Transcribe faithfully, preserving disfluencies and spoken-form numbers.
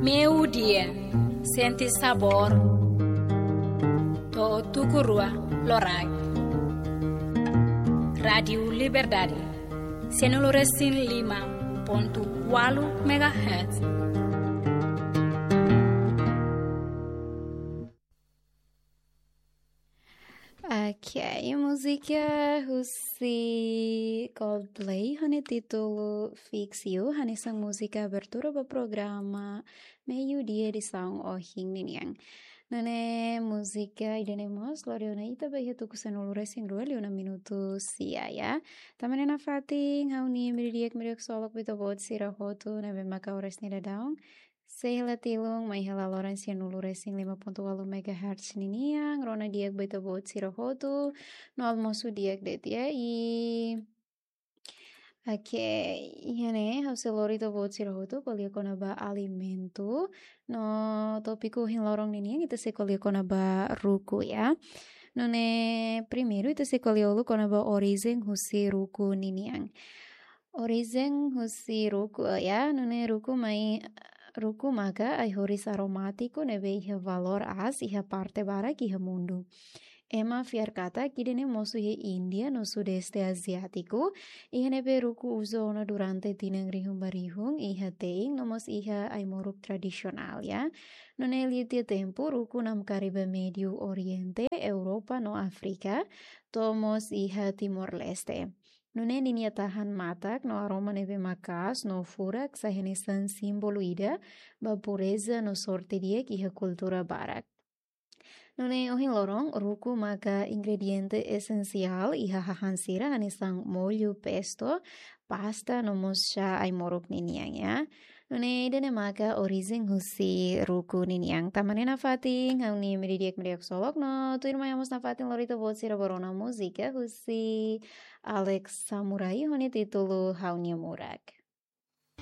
Meio-dia, sente sabor. To'o tuku rua loraik. Rádiu Liberdade, sianulu resin lima pontu ualu megahertz. Ok, múzika husi Coldplay ho nia títulu Fix You, hanesan múzika abertura ba programa Meio-dia edisaun ohin ninian. Nune'e múzika ida-ne'e mós lori ona ita ba iha tuku sanulu resin rua liu ona minutu sia, ya. Tanba ne'e nafatin ha'u-nia imi di'ak, imi di'ak ksolok ba ita-boot sira hotu ne'ebé maka oras ne'e daudaun sei hela tilun mai hela loron sianulu resin lima pontu ualu megahertz ninian, rona di'ak ba ita-boot sira hotu, no almosu di'ak de'it, ya, i, oke, iha ne'e ha'u sei lori ita-boot sira hotu ko'alia kona-ba alimentu, no tópiku ohin loron ninian ita sei ko'alia kona-ba ruku, ya. Nune'e primeiru ita sei ko'alia uluk kona-ba orijen husi ruku ninian. Orijen husi ruku, ya, nune'e ruku mai, ruku maka ai-horis aromátiku ne'ebé iha valór aas iha parte barak iha mundu. Ema fiar katak ida-ne'e mosu iha Índia no Sudeste Aziátiku, iha ne'ebé ruku uza ona durante tinan rihun ba rihun iha te'in no mós iha ai-moruk tradisionál, ya. Nune'e liu tiha tempu ruku namkari ba Médiu Oriente, Europa no Áfrika, to'o mós iha Timor-Leste. Nune'e ninia tahan matak no aroma ne'ebé maka'as no furak sai hanesan símbolu ida ba pureza no sorte di'ak iha kultura barak. Nune'e ohin loron ruku maka ingrediente esensiál iha hahán sira hanesan mollu, pesto, pasta no mós xá ai-moruk ninian, ya. Nune'e ida-ne'e maka orijen husi ruku ninian. Tanba ne'e nafatin ha'u-nia imi di'ak, imi di'ak ksolok, no tuirmai ha'u mós nafatin lori ita-boot sira ba rona múzika husi Alex Samurai ho nia títulu Ha'u-nia Murak.